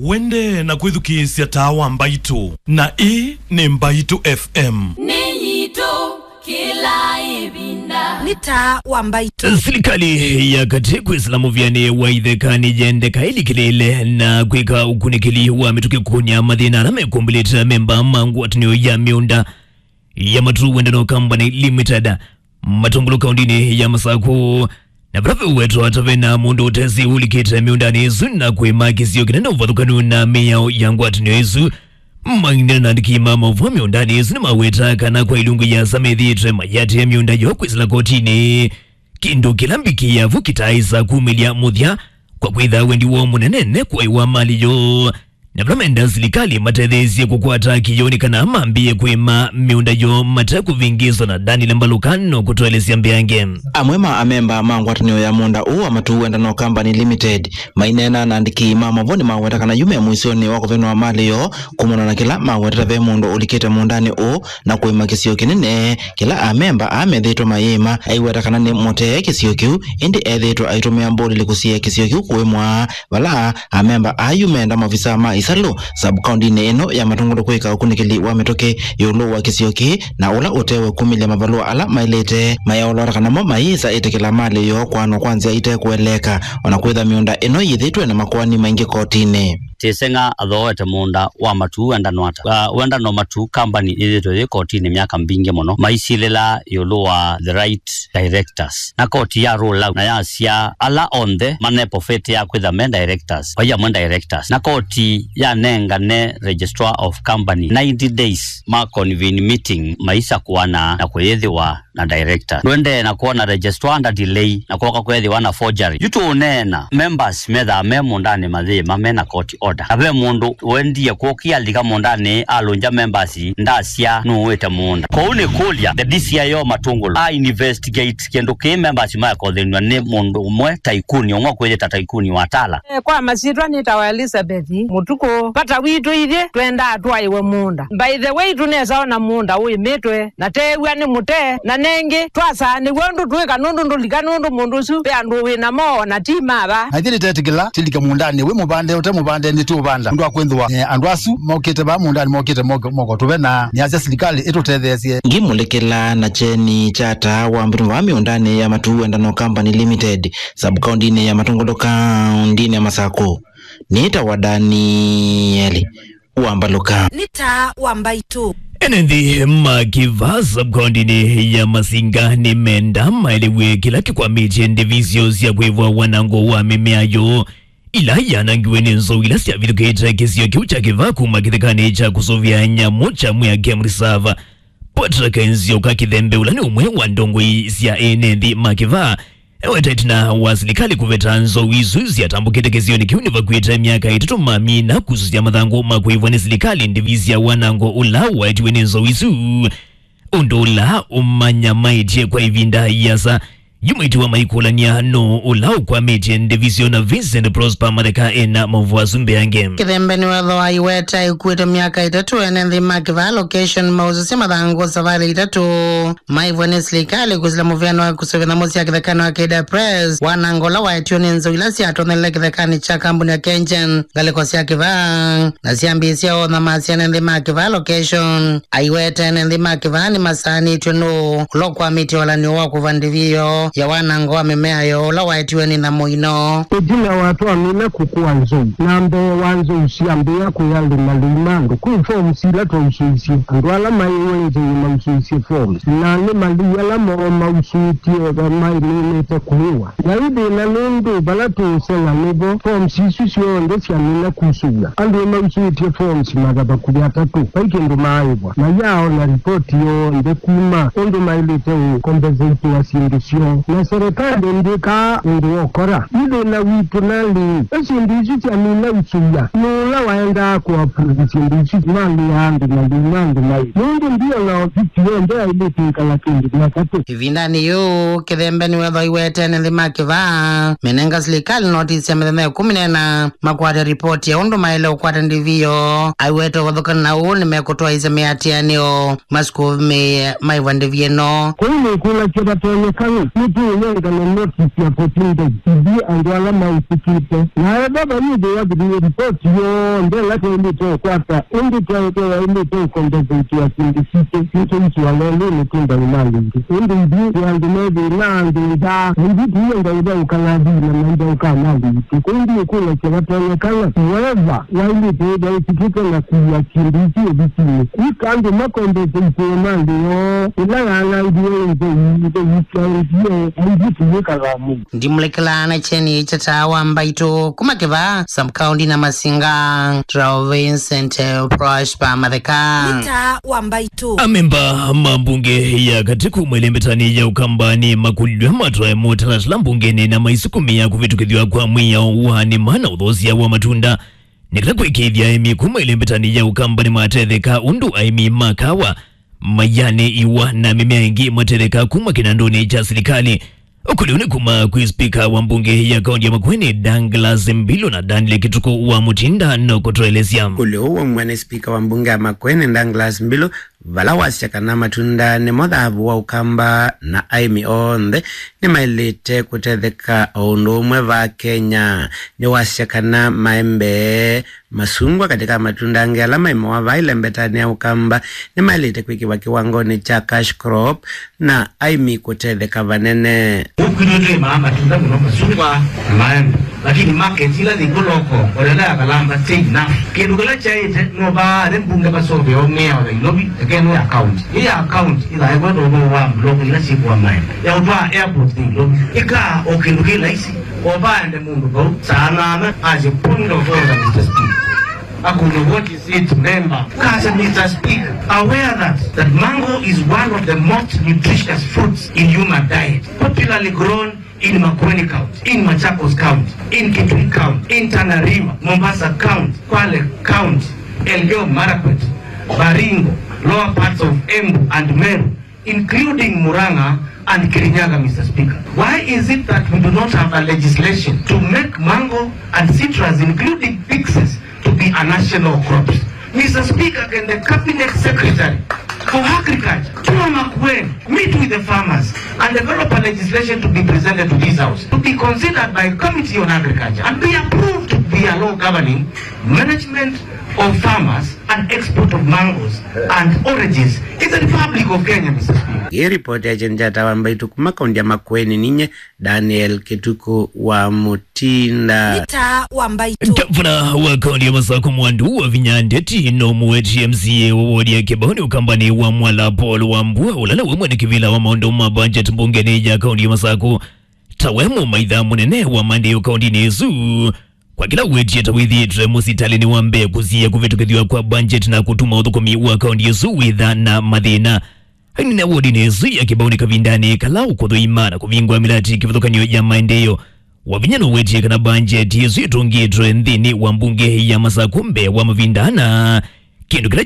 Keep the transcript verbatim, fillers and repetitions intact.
Wende na kwĩthukĩĩsya Taa wa Mbaitũ, na ĩĩ nĩ Mbaitũ F M. Nĩ yitũ kĩla ĩvinda. Nĩ Taa wa Mbaitũ. Silikalĩ ya katĩ kwĩsĩla mũvĩanĩ wa itheka nĩyendeka ĩlikĩlĩĩle na kwĩka ũkunĩkĩli wa mĩtũkĩ kũkũnĩa mathĩna ala mekumbĩlĩte amemba ma ngwatanĩo ya mĩũnda ya Matuu Wendano Company Limited, Matungulu kaũndĩnĩ ya Masakũ, na vala veũwetwa ta vena mũndũ ũtesĩ ũlikĩte mĩũndanĩ ĩsu na kwĩma kĩsio kĩnene ũvathũkanu na mĩao ya ngwatanĩo ĩsu. Maina na andĩki ma maũvoo mĩũndanĩ ĩsu nĩmaweta kana kwa ilungu yasa methĩĩtwe mayatĩĩa mĩũnda yoo kwĩsĩla kotinĩ, kĩndũ kĩla mbikĩ yavu kĩtaaĩsa kumĩlya mũthya kwa kwĩtha wendi woo mũnene nĩ kũaiwa mali yoo. Na vala menda silikalĩ matetheesye kũkwata kĩyoo nĩ kana mambĩĩe kwĩma mĩũnda yoo mate kũvĩngĩĩswa na Daniel Mbalũka no kũtũelesya mbeange. Amwe ma amemba ma ngwatanĩo ya mũũnda ũũ wa Matuu Wendano Company Limited maineena na andĩki ma maũvoo nĩmaweta kana yu me mũisyonĩ wa kũvenwa mali yoo kumana na kĩla mawetete ve mũndũ ũlikĩte mũũndanĩ ũũ na kũĩma kĩsio kĩnene kĩla amemba aa methĩĩtwe mayĩĩma. Aiweta kana nĩ mũtee kĩsio kĩu, ĩndĩ ethĩĩtwe aitũmĩa mbũlĩlĩ kũsiĩĩa kĩsio kĩu kũĩmwa, vala amemba aa yu menda maovisaa ma ĩsalũ sub-kaũndĩnĩ ĩno ya Matungulu kwĩka ũkunĩkĩli wa mĩtũkĩ ĩũlũ wa kĩsio kĩĩ, na ũla ũtewe kumĩlya mavalũa ala maĩlĩte mayaũlwata kana mo mayĩsa ĩtĩkĩla mali yoo kũanwa kwa nzĩa ite kũeleeka, o na kwĩtha mĩũnda ĩno yĩthĩtwe na makoani maingĩ kotinĩ. Tĩseng'a athooete mũũnda wa Matuu Wendano ata? Uh, Wendano Matuu Company ĩthĩtwe yĩ kotinĩ myaka mbingĩ mũno, maisilĩla ĩũlũ wa the right directors. Na koti ya rule out na yasya ala onthe manepofete ya kwĩtha me directors, vai amwe directors. Na koti yanengane Registrar of Company ninety days ma convene meeting maisakũana na kũyĩthĩwa na director. Ndũendee na kwona registrar nda delay na kwoka kwethĩwa na forgery. Yu tũũneena, members methaa me mũũndanĩ mayĩĩma mena court order. Na ve mũndũ ũendie kũkĩa alika mũũndanĩ alũngya members ndasya nũũĩte mũũnda. Kwoou nĩ kũlya, the D C I O Matungulu a investigate kĩndũ kĩĩ members maekothenw'a nĩ mũndũ ũmwe taikuni, ũmwe kwĩyĩta taikuni wa Tala. Eh, kwa masyĩtwa nĩtawa Elizabeth Mũtukũ. Vata witũ ithyĩ twendaa twaĩwe mũũnda. By the way, tũnesa ona mũũnda ũĩmĩtwe, na teew'a nĩ mũtee, na nengĩ twasaanĩw'a ũndũ twĩka nũndũ ndũlika nũndũ mũndũ ũsu ve andũ wĩ namo, o na ti mava. Na ithyĩ nĩtetĩkĩla tĩlike mũũndanĩ wĩ mũvande ũte mũvande nĩtũũvanda. Ũndũ wa kwĩthĩwa, eh, andũ asu mokĩte vaa mũũndanĩ mokĩte moko, moko tũve na nĩasya silikalĩ ĩtũtetheesye. Ngimũlĩkĩla na kyeni kya Taa wa Mbaitũ vaa mĩũndanĩ ya Matuu Wendano Company Limited, sub-kaũndĩnĩ ya Matungulu kaũndĩnĩ ya Masakũ. Nĩtawa Danieli wa Mbalũka. Nĩ Taa wa Mbaitũ. Ene nthĩ ma kĩvaa sub-kaũndĩnĩ ya Masinga nĩmenda maelew'e kĩla kĩkwamĩtye ndivisyo sya kwĩvwa wanango wa mĩmea yoo ila yanangiwe nĩ nzou ila syavithũkĩte kĩsio kĩu kya kĩvaa kuma kĩthekanĩ kya kũsũvĩa nyamũ kya Mwea Game Reserve. Patrick Nzioka Kĩthembe, ũla nĩ ũmwe wa ndongoi sya ene nthĩ ma kĩvaa, eweta ĩtina wa silikalĩ kũveta nzou isu syatambũkĩte kĩsionĩ kĩu nĩvakuĩte myaka ĩtatũ mamina kusũsya mathangũ ma kũĩvwa nĩ silikalĩ ndivi sya wanango ũla waetiwe nĩ nzou isu. Ũndũ ũla ũmanyamaĩtye kwa ĩvinda ĩasa. Yu maitiwa maikũlany'a nũũ ũla ũkwamĩtye ndivi syo na Vincent Prosper Matheka ena maũvoo asu mbeange. Kĩthembe nĩwethwa aiweta ikuĩte myaka ĩtatũ ene nthĩ ma kĩvaa location mausũsya mathangũ savalĩ itatũ maĩvwa nĩ silikalĩ kwĩsĩla mũvĩano wa kũsũvĩa nyamũ sya kĩthekanĩ wa Keda Press, wanango ũla waetiwe nĩ nzou ila syatonyelile kĩthekanĩ kya kambuni ya KenGen ngalĩko sya kĩvaa na syambĩĩsya ootha ma syana nthĩ ma kĩvaa location. Aiweta ene nthĩ ma kĩvaa nĩmasaanĩtw'e nũũ ũla ũkwamĩtye ũalanĩo wa kũva ndivi yoo ya wanango wa mĩmea yoo ũla waetiwe nĩ nyamũ ino. Ĩtina wa twamina kũkũa nzou, na mbee wa nzou syambĩĩa kũya lĩmalĩu ma andũ, kwĩ forms ila twausũisye. Andũ ala maĩwe nzou nĩmausũisye forms, na nĩ malĩu ala moo mausũĩtye maĩminĩte kũĩwa. Vai thĩna nũndũ vala tũũseng'a nĩvo forms isu syonthe syamina kusũw'a. Andũ nĩmausũĩtye forms matha vakuvĩ atatũ, vai kĩndũ maaĩvwa. Mayaaona ripoti yonthe kuma ũndũ maĩlĩte ũkompensaitiwa syĩndũ syoo. Na serĩkalĩ ndĩkaa ũndũ wa ũkora. Yu thĩna witũ nalĩ, ve syĩndũ isu syamina usũw'a, nũũ ũla waendaa kũapprove syĩndũ isu? Mali ya andũ na thĩna andũ mai. Nũndũ ndiona ovisi yonthe yaĩlĩte ĩkala kĩndũ kya katũ. Ĩvindanĩ yĩu, Kĩthembe nĩwethwa aiwete ene nthĩ ma kĩvaa menenga silikalĩ notisi ya mĩthenya ĩkũmi na ĩna makwate ripoti ya ũndũ maĩle ũkwata ndivi yoo. Aiwete ũvathũkana na ũu nĩmekũtwaĩĩsya mĩatĩanĩo masukuvĩ maĩvwa ndivi ĩno. Kũu nĩkũlakya vatonyekana nĩ Tũũnengane notice ya fourteen days ithyĩ andũ ala mausĩkĩte. Na ethĩwa vayĩthĩwa thĩlĩ ripoti yonthe ĩla twaĩlĩte ũkwata, ĩndĩ twaĩtwe waĩlĩte ũkombesĩtĩa syĩndũ sitũ, nĩtũisũa lelũnĩ twĩ ndaĩmalĩ ingĩ. Ĩndĩ ithyĩ twĩ andũ me thĩna, andũ nzaa, na ithyĩ tũienda ũthaũka na athii na maithaũka amalĩ itũ. Kũu ndiũkũlya kĩla tonyekana, weva waĩlĩte ĩtha ũsikĩte na kuia syĩndũ isu ovisinĩ. Kwĩka andũ makombesĩtĩe malĩ yoo ĩla yaanangiwe nthei, nthei syaendie, na ithyĩ tũyĩkaga mũno. Ndimũlekelaa na kyeni kya Taa wa Mbaitũ kuma Kĩvaa sub-county na Masinga, Tũrao Vincent Prosper Matheka. Nĩ Taa wa Mbaitũ. Amemba ma mbunge ya katĩ kuma ĩlembetanĩ ya Ũkamba nĩmakũlilw'e matwae mũtalatala mbungenĩ na maisukumĩa kũvĩtũkĩthw'a kwa mwĩao wa nĩma na ũthoosya wa matunda. Nĩ kana kũĩkĩĩthya aĩmi kuma ĩlembetanĩ ya Ũkamba nĩmatetheka ũndũ aĩmi ma kawa, mayanĩ, iwa na mĩmea ĩngĩ matetheka kuma kĩnandũnĩ kya silikalĩ. Ũkũlyo nĩ kuma kwĩ spika wa mbunge ya kaunti ya Makueni, Douglas Mbilu, na Daniel Kituku wa Mutinda nũkũtũelesya. Ũkũlyo ũũ waumw'a nĩ spika wa mbunge ya Makueni, Douglas Mbilu, vala wasya kana matunda nĩmo thavu wa Ũkamba na aĩmi onthe nĩmaĩlĩte kũtetheka o ũndũ ũmwe vaa Kenya. Nĩwasya kana maembe, masungwa katĩ ka matunda angĩ ala maimawa vaa ĩlembetanĩ ya Ũkamba nĩmaĩlĩte kwĩkĩwa kĩwangonĩ kya cash crop na aĩmi kũtetheka vanene. Ũkwĩthĩwa twĩmaa matunda mũno, masungwa na maembe, lakini market ila yĩ kũ loko, olela ya Kalamba, ti enough. Kĩndũ kĩla kyaĩte no vaa nĩ mbunge masoveo mĩao Nairobi, ĩkenũ ya county. Ĩ ya county ĩthaĩwe ndomo wa mbloko ila syĩkũa maembe ya ũtwaa airport Nairobi. Ĩkaa o kĩndũ kĩ laisi, o vaende mũndũ vau saa nana asye, "Point of order, Mister Speaker." Akũlya, "What is it, member?" Kasa, "Mister Speaker, aware that, that mango is one of the most nutritious fruits in human diet, popularly grown in Makueni County, in Machakos County, in Kitui County, in Tana River, Mombasa County, Kwale County, Elgeyo Marakwet, Baringo, lower parts of Embu and Meru, including Murang'a and Kirinyaga, Mister Speaker. Why is it that we do not have a legislation to make mango and citrus, including pixies, to be a national crops?" Mister Speaker, can the cabinet secretary for agriculture, Tua Makueni, meet with the farmers and develop a legislation to be presented to this house, to be considered by committee on agriculture and be approved to be a law governing management of farmers and export of mangoes and oranges in the Republic of Kenya, Mister Speaker? Ĩ ripoti ya kyeni kya Taa wa Mbaitũ kuma kaunti ya Makueni, ninye Daniel Kituku wa Mutinda. Nĩ Taa wa Mbaitũ. Ngavana wa kaunti ya Masakũ Mwandu Wavinya Ndeti no mũweti M C A wa wodi ya Kĩbaũnĩ Ũkambanĩ wa Mwala Paul Wambua, ũla nĩwe mwene kĩvĩla wa maũndũ ma budget mbungenĩ ya kaunti ya Masakũ, ta we mũmaitha mũnene wa maendeeo kauntinĩ ĩsu. Kwa kĩla ũwetie ta wĩthĩĩtwe mũsitalĩnĩ wa mbee kũsiĩĩa kũvĩtũkĩthw'a kwa budget na kũtuma ũthũkũmi wa kaunti ĩsu wĩtha na mathĩna. Ainena wodinĩ ĩsu ya Kĩbaũnĩ kavindanĩ kala ũkũthũima na kũvingũa mĩlati kĩvathũkany'o ya maendeeo. Wavinya nũwetie kana budget ĩsu ĩtũngĩĩtwe nthĩnĩ wa mbunge ya Masakũ mbee wa mavinda ana, kĩndũ kĩla